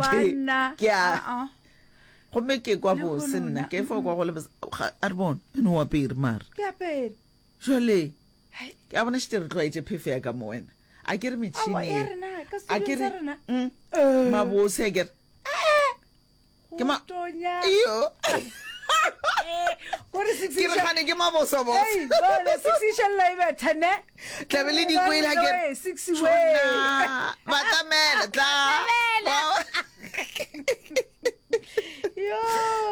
Banna. Ke a Ah, ah. gomme ke kwa Le bose kgono nna na, ke fo kwa go le bose Ga- a re bone ene o apere mara Ke apere. jale Hai. ke a bona šete re tlwaetše phefo ya ka mo wena a ke re metšhini Aowa, ya ye rena, ka a ke studiong re sa rena. Mm, Eh. mabose a ke re Ke ma- Tonya. iyo Kore six ke re gane ke mabosobose Hey, bone six išella e betha ne. tlabe le dikwele a ke re Hey, six way. Tjhona, batamela tla Yo.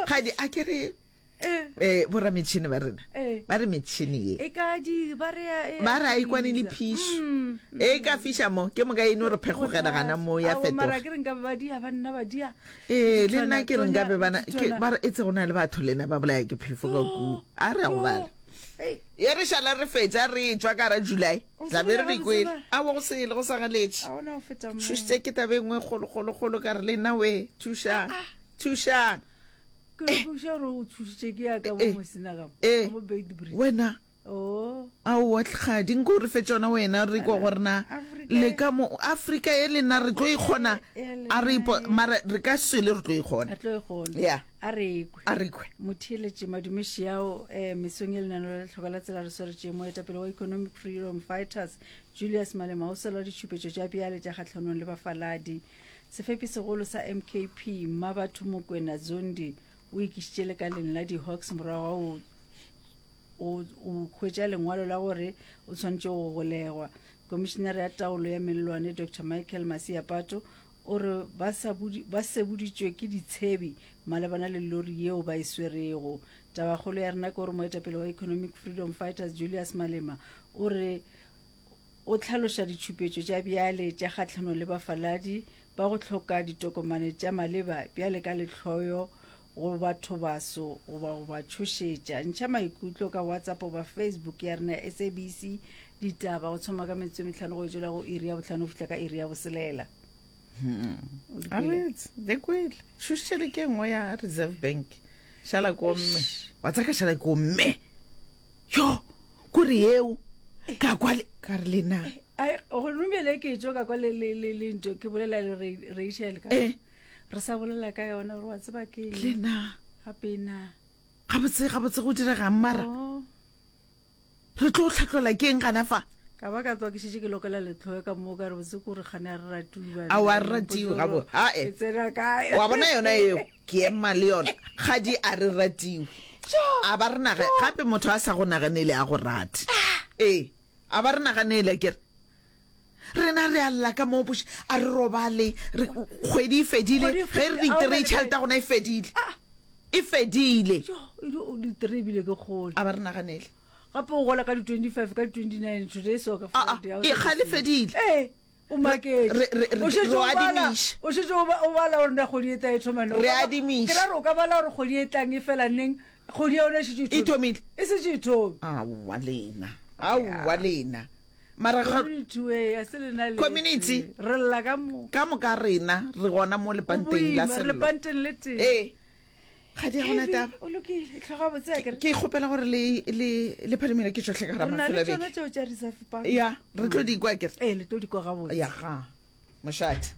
gadi a ke re Eh, eh borametšhini ba rena Eh. ba re metšhini ye E ka di ba re ya- e ba re a ikwane le phišo Mm. e ka fiša mo ke moka e no re phekgogela gana mo ya Aowa, mara fetoga ke re nka be ba dia ba nna ba dia. ee le nna ke re nka be bana ke Tonya. ba re e tse go na le batho lena ba bolaya ke phefo ka kua a re ya go bala Hey, ye re šala re fetša re tšwa ka ra july O tla be re sele di kwele gabotse aowa go sele go sa galetše ga ona go feta mo. thušitše ke taba e nngwe kgolokgolokgolo ka re le nna we thušang thušang Ke re botša gore o thušitše ke ya ka mo Eh, Mosina ka mo. eh. Mo Beitbridge. wena Oh. aowa tlhadi nko o re fe tšona wena re kwa gore na Afrika le ka mo afrika e le nna re tlo ikgona E- e a re ipo lena e. mara re ka sele re tlo ikgona Re tlo e kgona. ya A re kwe. a re kwe Motheeletši Madumeši ao eh, mesong e lenaneo la Lehloka la Tsela re swaretše moetapele wa Economic Freedom Fighters Julius Malema o sola ditšhupetšo tša bjale tša kgahlanong le bafaladi. Sefepi-segolo sa MKP, Mmabatho Mokwena Zondi, o ikišitše lekaleng la di-Hawks morago ga go go hwetša lengwalo la gore o swanetše go golegwa. Komišinare ya taolo ya mellwane Doctor Michael Masiapato o re ba sa ba seboditšwe ke ditshebi malebana le lori yeo ba e swerego. Tabakgolo ya rena ke gore moetapele wa Economic Freedom Fighters Julius Malema o re O hlaloša ditšhupetšo tša bjale tša kgahlanong le bafaladi ba go hloka ditokomane tša maleba bjale ka lehloyo go bathobaso goba go ba tšhošetša. Ntšha maikutlo ka WhatsApp goba Facebook ya rena ya SABC Ditaba go thoma ka metsotso e mehlano go etšwela go iri ya bohlano go fihla ka iri ya boselela. O di kwele? Aretse, le kwele. Tšhošetše ke nngwe ya Reserve Bank. Šala ko mme. Wa tsaka šala ko mme. yo kore yeo ka kwa le ka re lena Ai, gone bjale ke tšo ka kwa le le le le nto ke bolela le Ra- Rachel ka Eh. re sa bolela ka yona gore wa tseba ke eng lena gape na gabotse gabotse go diregang mara Oh, re tlo tlhatlola ke eng gana fa ka ba ka tswa ke šetše ke lokela letlhoe ka moo ka re botse ko re kgane a re ratiwe banna. Aowa, a re ratiwe, gabo- ae. Ke tsena kae wa bona yona eo Ke ema le yona. Kgadi a re ratiwe. A ba re naga gape motho a sa go naganele a go rate. Ee, a ba re naganele ke re. Rena re a lla ka mo boš a re robale re kgwedi e fedile Kgwedi e ge re fedile, di a o tree na le tšhelete ya gona e fedile. E fedile. Jo, e di- o di tree ebile ke kgole. A ba re naganele. Gape o gola ka di 25 ka di 29 today so ka Ah, ah, Friday, ha o e sa kgale di- fedile. Ee. O maketše. Re- re- re- O šetše re o bala, adimiša. o šetše o ba- o bala gore na kgwedi e tla e thoma neng. O Re ka ba- adimiša. Ke ra gore o ka bala gore kgwedi e tlang e fela neng, kgwedi ya yona e šetše E thomile. E šetše e thomile. Aowa lena. Aowa lena. Mara ga- Community we, a se lena le Community. tee. Re lla ka moka. ka moka rena re gona mo Go lepanteng la boima, re sello. lepanteng le tee. Ee. Ga di a gona Heavy, taba. O lokile, hloga botse akere. Ke kgopela gore le le le phadimele ke tšohle ka gara Re na mafelo le a beke. tšona tšeo tša reserve bank. Ya, re tlo di kwa akere. Ee, le tlo di kwa gabotse. Ya ga. Mošate.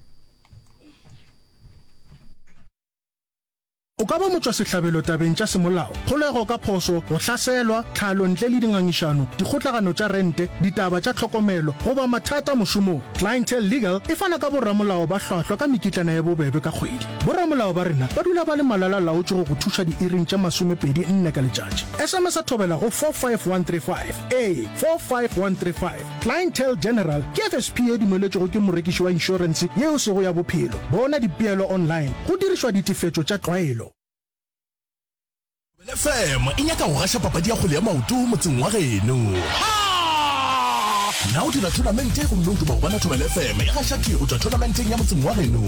O ka ba motšwasehlabelo tabeng tša semolao, kgolego ka phošo, go hlaselwa, tlhalo ntle le dingangišano, dikgotlagano tša rente, ditaba tša tlhokomelo, goba mathata mošomong. Clientele Legal e fana ka boramolao ba hlwahlwa ka mekitlana ye bobebe ka kgwedi. Boramolao ba rena ba dula ba le malala-laotšwe go go thuša diiring tše masomepedi nne ka letšatši. SMS-a thobela go 45135. Ee, 45135. Clientele General ke FSP ye dumeletšwego ke morekiši wa inšorense ye e sego ya bophelo. Bona dipeelo online go dirišwa ditefetšo tša tlwaelo. Thobela FM e nyaka go gaša papadi ya kgwele ya maoto motseng wa geno. Na o dira thonamente gomme o duma go bona Thobela FM e gaša thwi go tšwa thonamenteng ya motseng wa geno?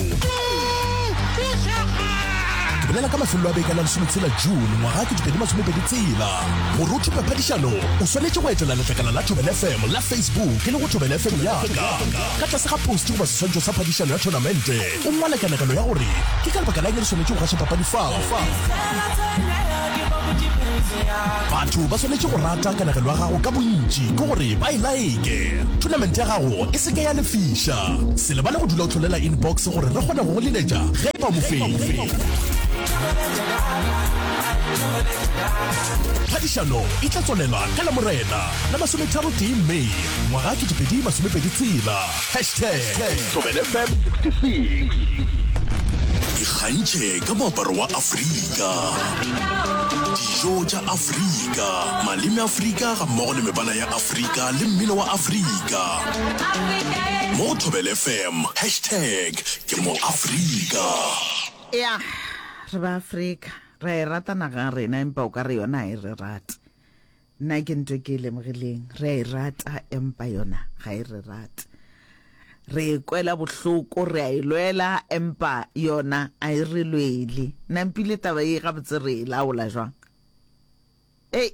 Re bolela ka mafelelo a beke a la lesometshela June ngwaga 2026. Gore o thope phadišano, o swanetše go etela letlakala la Thobela FM la Facebook e le go Thobela FM ya ka. Ka tlase ga post goba seswantšho sa phadišano ya thonamente, o ngwale kanegelo ya gore ke ka lebaka la eng re swanetše go gaša papadi fao. Batho ba swanetše go rata kanegelo ya gago ka bontši, ke gore ba e laeke. Thonamente ya gago e se ke ya lefiša. Se lebale go dula o hlolela inbox gore re kgone go go leletša ge e ba o mofenyi. Phadišano e tla tswalelwa ka Lamorena la masometharotee May ngwaga 2026. Hashtag ThobelaFM 66. Ikgantšhe ka moaparo wa Afrika, dijo tša Afrika, maleme a Afrika gammogo le mebala ya Afrika le mmino wa Afrika. Mo go Thobela FM, hashtag ke mo Afrika. Ea, re ba Afrika, re a e rata naga ya rena, empa o ka re yona ga e re rate. Nna ke nto ke e lemogileng, re a e rata empa yona ga e re rate. Re e kwela bohloko, re a e lwela empa yona a e re lwele. Nampile taba ye gabotse re e laola jwang? Ei,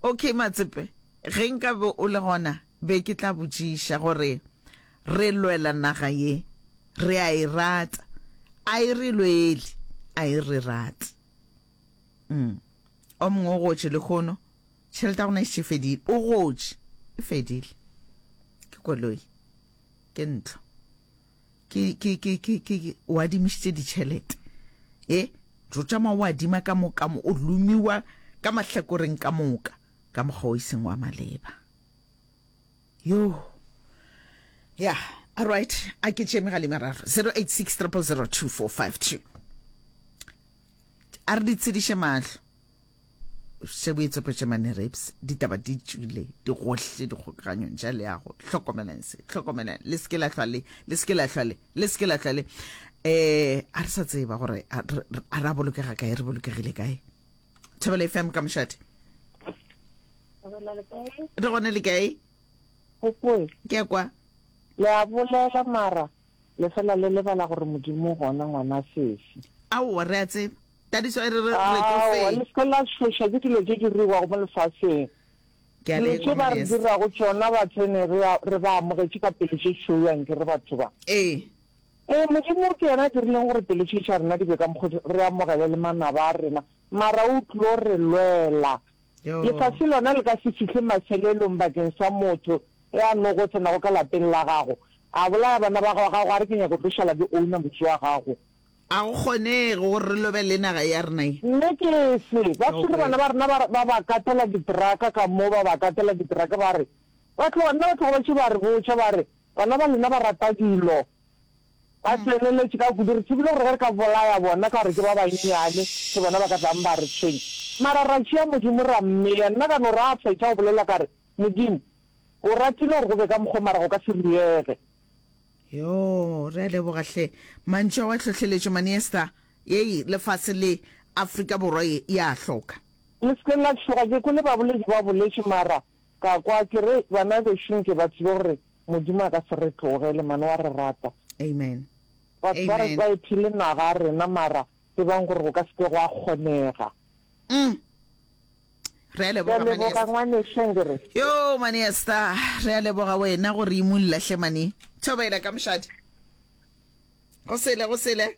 okay Matsepe, ge nka be o le gona be ke tla botšiša gore re lwela naga ye, re a e rata, a e re lwele, a e re rate. Mm. O mongwe o gotše lehono, tšhelete ya gona e šetše e fedile. O gotše, e fedile. Ke koloi, ke ntlo, ke, ke, ke, ke, ke, ke o adimišitše ditšhelete. E, jo tšama o adima ka mo, ka mo, o lomiwa ka mahlakoreng ka moka, ka mokgwa o e seng wa maleba. Yo. Ya, all right, a ke tšee megala e meraro. 086 000 2452. A re di tshediše mahlo. Šebo e tsopetše mane rapes, ditaba di tšwile di gohle dikgokaganyong tša leago. Hlokomelang se, hlokomelang, le se ke la hlwa le, le se ke la hlwa le, le se ke la hlwa le. Eh, a re sa tseba gore a re a bolokega kae, re bolokegile kae. Thobela FM ka mošate. Re gone le kae? Ke a kwa. Le a bolela mara Le fela le lebala gore Modimo o gona ngwana sesi. Aowa, re a tseba. That is why re re re tlo Aowa, fenya. le se ke la tšhošwa ke dilo tše di diriwago mo lefaseng. Ke a Dilo le tše kwa, ba re Ngwaneso. dirago tšona ba tsene re a, re ba amogetše ka pelo tše tšhweu anke re batho ba. Ee. Ee, Modimo ke yena a dirileng gore pelo tše tša rena di be ka mokgo di, re amogele le manaba a rena, mara o tlo re lwela. Yo. Lefase lona le ka se fihle mafelelong bakeng sa motho e a nogo tsenago ka lapeng la gago, a bolaya bana ba gago, a re ke nyaka go tlo šala ke owner motse wa gago. A go kgonege gore re lobe le naga ya rena ye. Nne ke se. Ba tshwere bana ba rena ba, ba ba katela diteraka ka mo, ba ba katela diteraka ba re, ba tloga, nna ba tloga ba tše ba re botša ba re, bana ba lena ba rata dilo. Ba tseneletše ka kudu. Re tsebile gore ge re ka bolaya bona ka gore ke ba bannyane, ke bona ba ka tlang ba re tshwenya. Mara ra tšea Modimo ra mmea. Nna ka no re a fetša go bolela ka re, Modimo, o ratile gore go be ka mokgwa mara go ka se riege. Yoo, re a leboga hle. Mantšu ao a hlohleletšo Mani Esther. Yei, lefase le, Afrika Borwa ye, e a hloka. Le se ke la tšhoga, ke kwele baboledi ba boletše mara ka kwa ke re bana bešo nke ba tsebe gore Modimo a ka se re tlogele mane wa re rata. Amen. Batho ba re Amen. ba ephile naga a rena mara tsebang gore go ka se ke gwa kgonega. Mm. Re a Ke a leboga Mani leboga Esther. ngwanešu Angere. Yo Mani Esther, re a leboga wena gore imulla hle mani. Thobela ka mošate. Go sele go sele.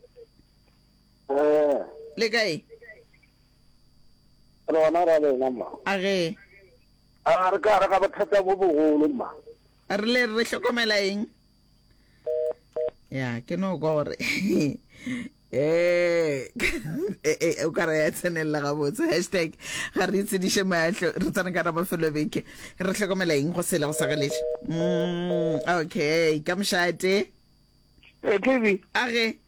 Eh. Le kae? Re gona ra lena mma. A ge. A re ka re ga bothata bo bogolo mma. Re le re hlokomela eng? Ya, ke no kwa gore eh eh o ka re ya tsenelela gabotse hashtag ga re itshediše mahlo re tsena ka mafelo beke re hlokomela eng go sele go sa galetše mm, okay ka mošate Eh, KB. A ge.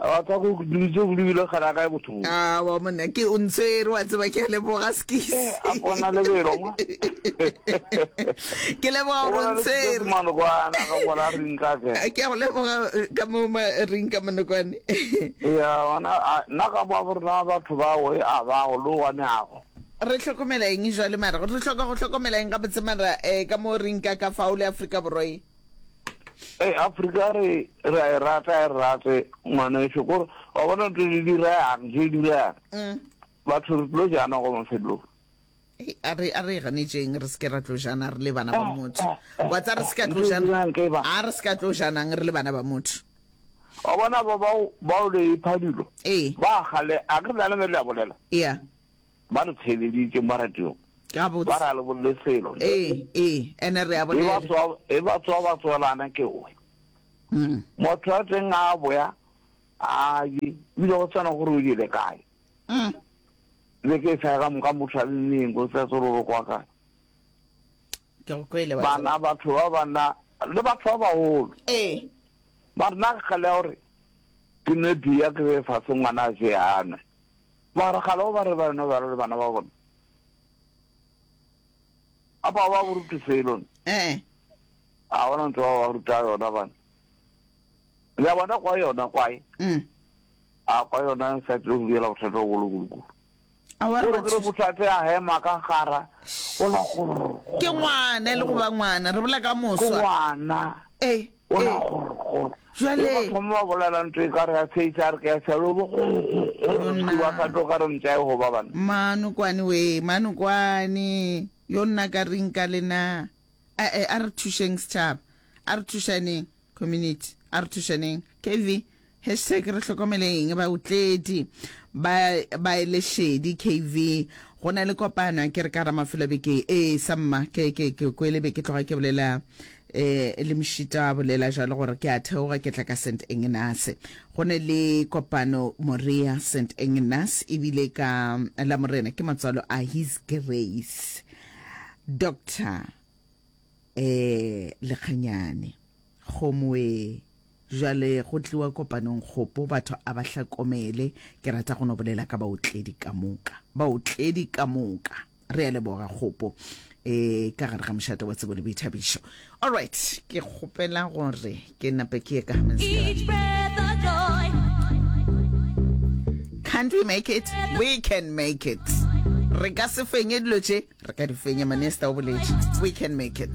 Wa tsa go dilo tse go lebile gana kae botho. Ah, wa monna ke o ntshwere wa tseba ke a leboga skis. Eh, a bona lebelo mo. Ke leboga gore o ntshwere. Manokwana ka bona ring ka ke. Ke a go leboga eh, ka mo ma ring ka manokwane. Ya ona nna ka mo rena batho ba o e a ba go lo wane ago. Re hlokomela eng jwale mara re hloka go hlokomela eng gabotse mara eh ka mo ring ka ka fao le Afrika Borwa e. Ee, Afrika re re a e rata e re rate ngwaneso kore wa bona ntho di dirang tse di dirang mm. batho re tlo jana go mafelong a re a re ganetšeng re se ke ra tlo jana re le bana ba motho wa tsa re se ka tlo jana a re se ka tlo janang re le bana ba motho wa bona ba bao bao le ipha dilo ee ba gale a ke rena le le a bolela yeah Ba re theeleditše mo radiong. Gabotse. Ba re a le bolele selo. Ee, ee, ene re a E ba bolela. tsoa, e ba tsoa ba tsoelana ke oe. Mm. Motho wa teng a boya, a je, ebile go swana gore o jele kae. Mm. Beke e sa ka moka motho a le neng, go sa tsore o kwa kae. Ke go kwele wa tseba. Bana, batho ba bana, le batho ba bagolo. Ee. Ba re nna ke kgale ya gore ke nwe beer ke be fase ngwana a je a nwe. Mara gale o ba re ba nwe ba le bana ba bona. Apa ba bo rute selo. Eh. A bona ntho ba ba ruta yona bana. Le bona kwa yona kwae. Mm. A kwa yona sa tlo go diela bothata bo bogolo kudu. A wa re re bothata ya hema ka gara. O la go. Ke ngwana le go ba ngwana re bola ka moswa. Ke ngwana. Eh. O la go go. Jwale. Ba thoma ba bolela ntho e ka re ya tsheisa re ke ya tshelo bo go ba sa tlo ka re ntša e go ba bana. Manokwane we, manokwane. Yo nna ka reng ka lena. A e a re thušeng setšhaba. A re thušaneng community. A re thušaneng. KV hashtag re hlokomele eng baotledi ba ba ele šedi KV go na le kopano ke re ka ra mafelo a beke ee samma ke ke ke kwele be ke tloga ke bolela eh le mošita a bolela jalo gore ke a theoga ke tla ka St Ignace go ne le kopano Moria St Ignace ebile ka la morena ke matswalo a His Grace Doctor eh Lekganyane Kgomoe Jwale go tliwa kopanong kgopo batho a ba hlakomele ke rata go no bolela ka baotledi ka moka baotledi ka moka re a leboga kgopo e ka gare ga mošate wa tsebo le boithabišo alright ke kgopela gore ke nape ke ye ka Can't we make it? We can make it. Re ka se fenye dilo tše, re ka di fenya. Manesta o boletše. We can make it.